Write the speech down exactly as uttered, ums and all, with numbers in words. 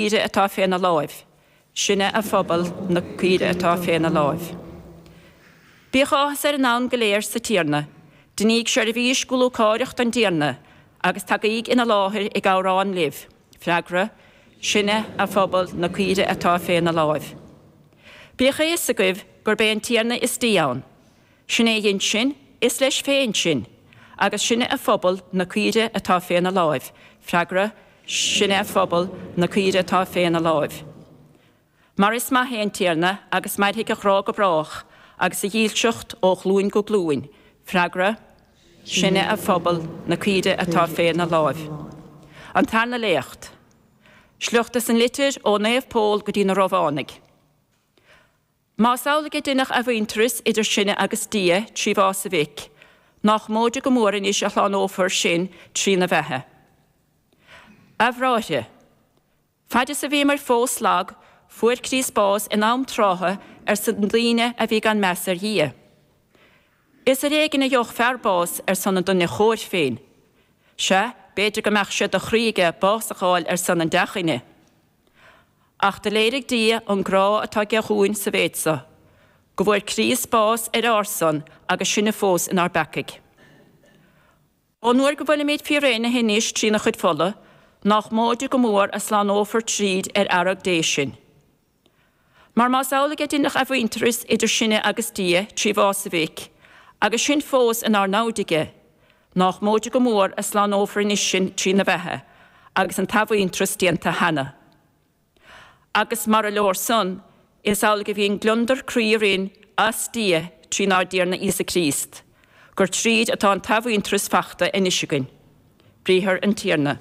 caoire atá féna láimh. Sinne a phobal, na caoire atá féna láimh. Bíodh áthas ar an anam go léir sa Tiarna. Deiníg seirbhís go lúcáireach don dTiarna, agus tagaíg ina láthair ag amhrán libh. Freagra, Sinne a phobal, na caoire atá féna láimh. Bíodh a fhios agaibh gurb é an Tiarna is Dia ann. Sin é a dhein sinn, is leis féin sinn, agus sinne a phobal, na caoire atá féna láimh. Freagra, Sinne a phobal, na caoire atá féna láimh. Mar is maith é an Tiarna, agus mairfidh a ghrá go brách, agus a dhílseacht ó ghlúin go glúin. Freagra, Sinne a phobal, na caoire atá féna láimh. An Tarna Léacht. Sliocht as an litir ó Naomh Pól go dtí na Rómhánaigh. Más amhlaidh a deineadh athmhuintearas idir sinne agus Dia trí bhás a Mhic, nach móide go mór anois a shlánófar sinn trína bheatha. A bhráithre, faid is a bhíomar fós lag, fuair Críost bás in am trátha ar son daoine a bhí gan meas ar Dhia. Is ar éigean a gheobhadh fear bás ar son an duine chóir féin. Sea, b'fhéidir go mbeadh sé de chroí aige bás a fháil ar son an dea-dhuine. Ach do léirigh Dia an grá atá aige dhúinn sa mhéid so, go bhfuair Críost bás ar ár son agus sinne fós inár bpeacaigh. Ón uair go bhfuilimid fíréanaithe anois trína chuid fola, nách móide go mór a slánófar tríd ar fhearg Dé sinn. Mar más amhlaidh a deineadh athmhuintearas idir sinne agus Dia trí bhás a Mhic, agus sinn fós inár namhaid aige, nách móide go mór a slánófar anois sinn trína bheatha, agus an t-athmhuintearas déanta cheana. Agus mara leor san, is amhlaidh a bhíonn gliondar croí orainn as Dia trínár dTiarna Íosa Críost, gur tríd atá an t-athmhuintearas fachta anois againn. Briathar an Tiarna.